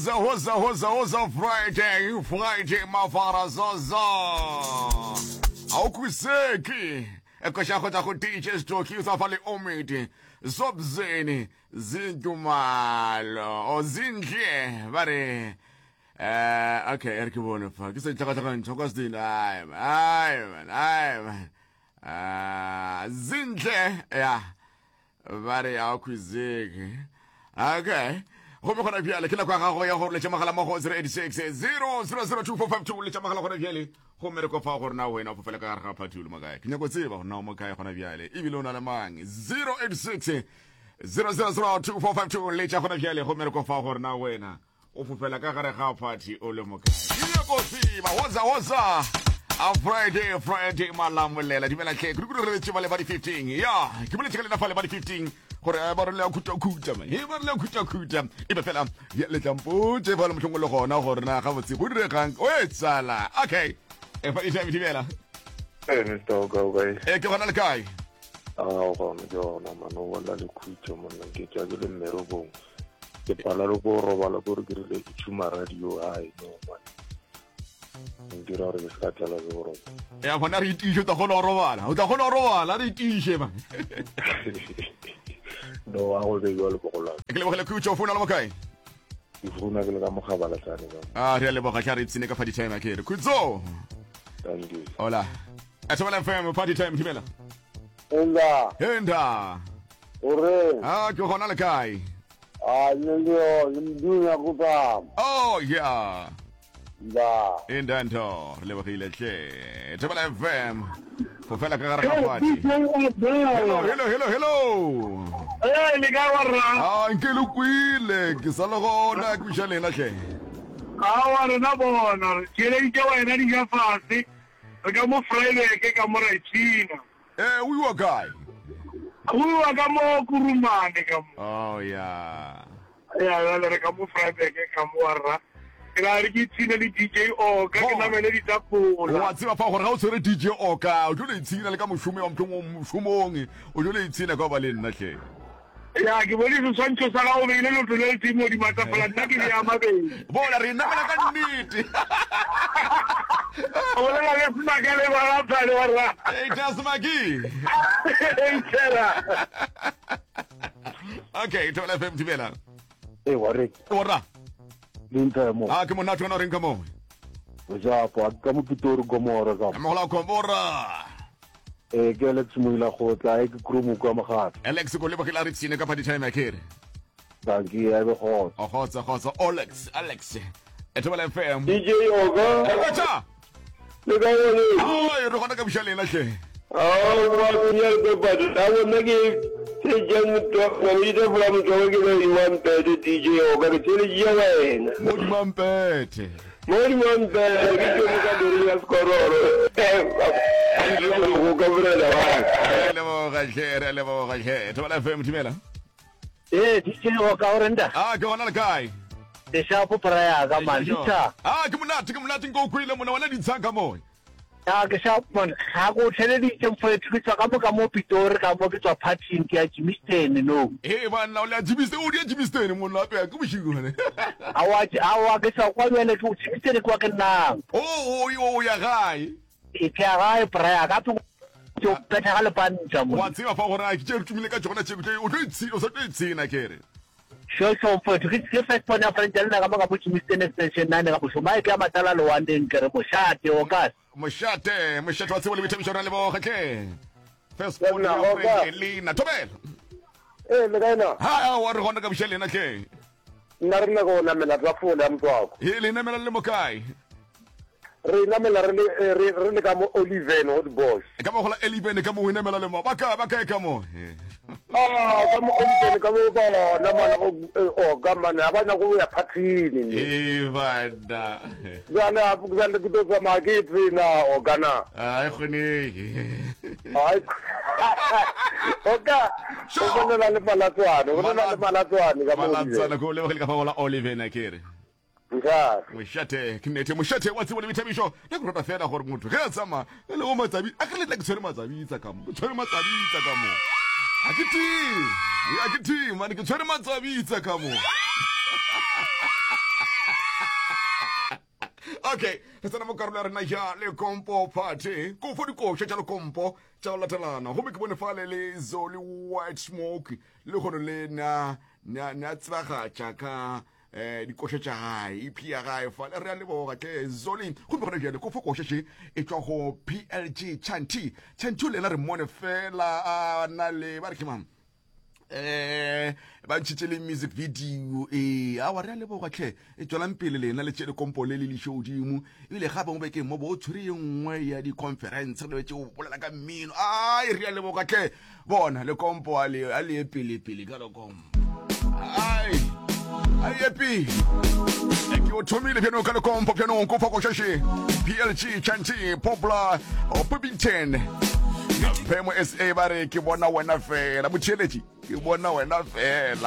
Hoza, hoza, hoza, hoza, Friday, Friday, mafara, zozo. Awukhuseki. Ekosha go tla go DJ Stoki o sa fa le omidi. Zobzeni zintumalo o zinhle ba re eh okay e re ke bone fa ke se tlhakatlhakantšha kwa seding ai man ai man ai man ah zinhle ya ba re ya khwizeke okay gomme gona bjale ke nako ya gago ya gore letša mogala mo go 086 0002452 letša mogala gona bjale gomme re kofa gore na wena o fofela ka gare ga phathi o le mo kae ke nyako tseba gore na o mo kae gona bjale ebile o na le mang 086 0002452 letša gona bjale gomme re kofa gore na wena O fofela ka gare ga phathi o le mokae? Ke nyako tseba. Woza woza. A Friday, Friday malamolela. Dumela hle. Kudu kudu re letše ba le ba di 15. Ya, ke boletše ka lena fa le ba di 15 gore eh, ba re le a khuta khuta man. He ba re le a khuta khuta. E be fela ya le tlampotše fa le mohlomong le gona gore na gabotse go diregang. O e tsala. Okay. E fa di dumela. Hey, Mr. Oka, o kae? E ke gona le kae? Ah, o gona ke gona man, o bolela le khutšo monna, ke tšwa ke le mmerekong. Ke pala le ko robala ko re ke rile ke tšhuma radio ai no man. Ntira gore ke se ka tlelwa ke boroko. Ya gona re itiše o tla kgona go robala. O tla kgona go robala re itiše man. No a go be jwalo bogolwane. Ke lebogele khutšo o founa le mo kae? Ke founa ke le ka mogabala tsane ka. Ah, re a leboga tla re ipsene ka party time akere. Khutso. Thank you. Hola. Thobela FM party time thibela. Enda. Enda. O reng? Ah, ke gona le kae? Ah, nne le yo, le mdunya go tama. Oh, yeah. Nda. Enda ntho, re lebogile hle. Thobela FM. Go fela ka gare ga party. Hello, hello, hello, hello. Hey, le kae wa rra? Ah, nke le kwile, ke sa le gona, ke buša lena hle. Aowa rena bona, re theeleditše wena dija fase. Re ka mo Vryburg ka mo ra ipshina. Eh, o iwa kae? Go iwa ka mo Kurumane ka mo. Oh ya. Ya jale re ka mo Vryburg ka mo wa rra. Ke ra re ke ipshine le DJ Oka ke namele ditapola. Wa tseba fa gore ga o tshwere DJ Oka o tlo le ipshina le ka mošomo wa mohlomong mošomong o tlo le ipshina ka ba le nna hle. Ya, ke bone seswantšho sa gago o beile leoto le letee mo godimo tafola, nna ke bea mabedi. Bona, re namela ka nnete. O bolela le Smaka le Balaphane wa rra. Hey, tell Smaki. Hey, tshela. Okay, Thobela FM thibela. Ee, wa re. Wa rra. Le ntha mo. Ah, ke monate wena o reng ka mo? O japo, a ka mo Pitori Gomora ka. Mogola Gomora. Ee, ke Alex Moila Kgotla, e ke Krumo kwa Mogato. Alex ko lebogile a re tsine ka party time akere. Dankie, a be kgotsa. O kgotsa kgotsa Alex, Alex. Ethobela FM. DJ Oga. Ekotsa. Le ka bone. Ai, re gona ka buša lena hle. Ao, ba tsenya le pepadi. A bona ke tse jang motho, na le ditafola motho wa ke ba imampete DJ Oga, ke theeleditše wena. Mo dimampete. Modimo wa mpele, ke tšwele ka lori ya sekororo. Go ka morena wa ka. Re a leboga hle, re a leboga hle. Thobela FM, thibela. Ee, DJ o ka o renta? Ah, ke gona le kae? Ke shapo pra ya ka man, ditsha. Ah, ke monate, ke monate nko o kwele mona wena ditsha ka moe. A ke sharp man, ga ko theleditše mfowethu ke tswa ka mo ka mo Pitori ka mo ke tswa partying ke ya Germiston no. He banna o le ya Germiston, o di ya Germiston monna ape ke bošego bane. Aowa aowa ke tswa kwa bjale ke Germiston ke wa ke nnang. Oh o o ya gae. Ke ya gae bra ya ka ke ke betha ga lepantša mo. Wa tseba fa gore a ke tše re tumile ka tšona tše o tlo ipshina o sa tlo ipshina ke re. Sure sure mfowethu ke ke first born ya friend ya lena ka mo ka mo Germiston extension 9 ka mošomo a e ke ya matala lewaneng ke re mošate o ka Mošate, mošate wa tsebo le boithabišo ra leboga tle. First born ya friend Elena Thobela. Eh le kae na? Ha wa re gona ka buša lena tle. Nna re nyaka go namela tafole ya motswako. He le namela le mo kae? Re namela re le eh, re re le ka mo Oliven Hot Bosch. Ka mo gola Oliven ka mo o namela le mo. Ba ka ba kae ka mo? Ah, ka mo Oliven ka mo ba namana go eh, o ka mana ba nyaka go ya phathini. Eh bana. Bjale a bjale ke tlo tsamaya ke tsena o kana. Ai kgonege. Ai. O ka o bolela le Malatswane, o bolela le Malatswane ka mo. Malatswane ko lebogile ka fa gola Oliven akere. Mošate. Mošate, ke nnete, mošate wa tsebo le boithabišo. Nna ke rata fela gore motho ge a tsamaya e le go matsabi, a ke letla ke tshwere matsabitsa ka mo, ke tshwere matsabitsa ka mo. Ga ke tee, ga ke tee, mane ke tshwere matsabitsa ka mo. Okay, re tsena mo karolo ya rena ya Lekompo Party. Ko fo dikoša tša Lekompo tša go latelana. Gomme ke bone fale le Zoli White Smoke le kgono le na na na tsebagatša ka eh dikoša tša gae ep ya gae fale re a leboga tle Zoli. Gomme gona bjale ko fo koša še e tšwa go PLG Chanti. Chanti o le yena re mmone fela a na le ba re ke mang? eh ba ntšhitše le music video ee awa re a leboga tlhe e tswelang pele lena le tše lekompo le le liše godimo ebile gape mo bekeng mo bo o tshwere ye nngwe ya di-conference re lebetse o bolela ka mmino ai re a leboga tlhe bona lekompo a le a le ye pele pele ka lekompo ai a ye pele ke o thomile bjano ka lekompo bjanong ko fakošaše plg chanti poplar popington phemo sa ba re ke bona wena fela motheeletši ke bona wena fela.